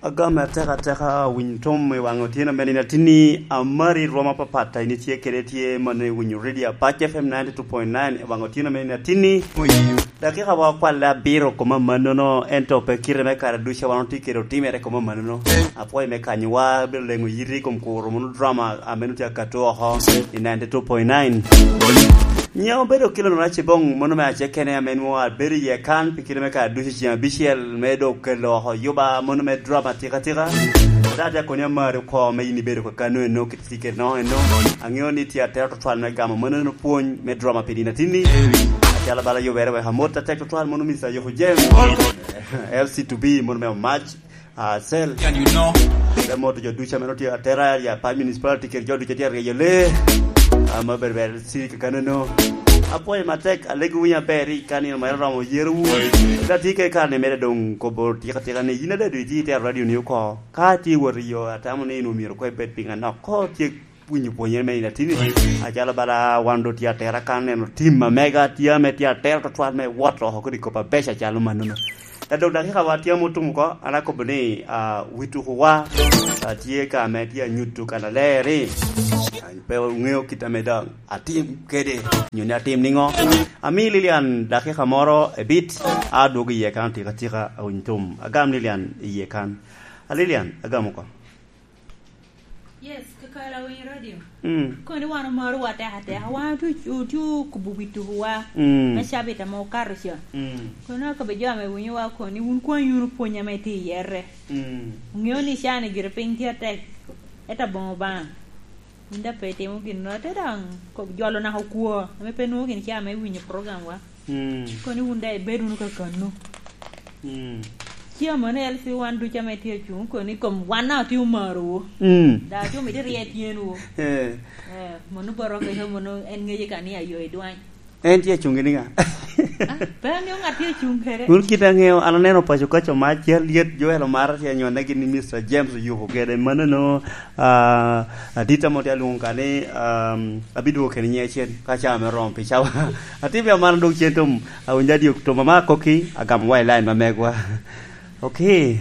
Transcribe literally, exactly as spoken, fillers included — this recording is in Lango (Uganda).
Agam atek ateka winy tom i waŋ otyeno me nino atinni. Amari rwom apapat a in itye kede tye mano i winyo radio Apac F M ninety two point nine i waŋ otyeno me nino atinni. Dakika wa okwalle abiro koma mannono, ento pe kite me kare ducu a wan otye kede otimere koma mannono. Apwoyo me kanyowa, bedo leŋo yiti i kom kuro mono drama a meno tye akato oko i ninety two point nine. Nyiŋa obedo Kilonel Acibong, mono me acekene ame nwoŋo abedo iye kan pi kite me kare ducu ceŋ abicel me dok kelo oko yuba mono me drama tikatika. Ata atye akoni amari oko me in ibedo ka kano eno kit tiket no eno. Aŋeo ni tye atero tutwal me gamo mono eno pwony me drama pi nino atinni. Acalo bala yubere wek amot atek tutwal mono Mister Yoko James. L C two B mono me omac. Ah, Sel. Can you know? Te moto jo ducu ame notye atera ya pa municipality kede jo ducu atye aryeyo le. Ama ber ber si kakano no. Apwoyo matek, alego winyo aber i kan ino ma iromo yero wu. Ka tye ke kan imede dong kobo tika tika ni yin adadu itye itero radio ni oko. Ka tye wot i yo atamo ni in omyero ko ibed piny anok. Ko tye winyo pwonyere me nino atinni. Acalo bala wan do tye atera kan neno tim ma mega tye ame tye atera tutwal me wot oko kodi kop abeco acalo mannono. Ka dok dakika wa tye ame otum oko, an akobo ni, ah, wi tuko wa, ah, tye ka ame tye anyuto kannaler ni, ah, pe oŋeo kit ame dong atim kede, nyo ni atim niŋo. Ami Lilian dakika moro ebit, a adwogo iye kan tika tika awiny tum. Agam Lilian iye kan. A Lilian, agam oko. Yes, kakalo awiny radio. Mm. Koni wan omaro wa teka teka. Wan otye, otye okubo wi tukuwa. Mm. Me cabit ame okato ca. Mm. Kono akabe jo ame winyo wa koni, wun kwany wunu pwony ame tye i yere. Mm. Ŋeo ni cani gire piny tye atek. Eta boŋo baŋ. Wun da pe itimo gin no, te daŋ ko-, jolo naka okwo. Ame pe nwoŋo gin ca me winyo program wa. Mm. Koni wun daŋ ibed wunu kakannu. Mm. Ci amono L C wan ducu ame tye acuŋ, koni kom wan na otye omarowu. Mm. Da acum ite rye tyenwu. Eh. Eh, mono boro keke mono en ŋece ka ni ayo i dwany. En tye acuŋ gini ŋa? Ah, pe angeyo ŋat tye acuŋ kede. Kun kit angeyo, an aneno paco kaco ma cal yet Joel Omara tye anyone gini Mister James Oyuko kede. Mano no, ah, adita mo tye alwoŋo ka ni, um, abidwogo kede nyiŋ acel ka ca me romo pi cawa. Atye bia mano dok cen tom, awinyo adio tom ama akoki, agamo wa i line ma megwa. Okay.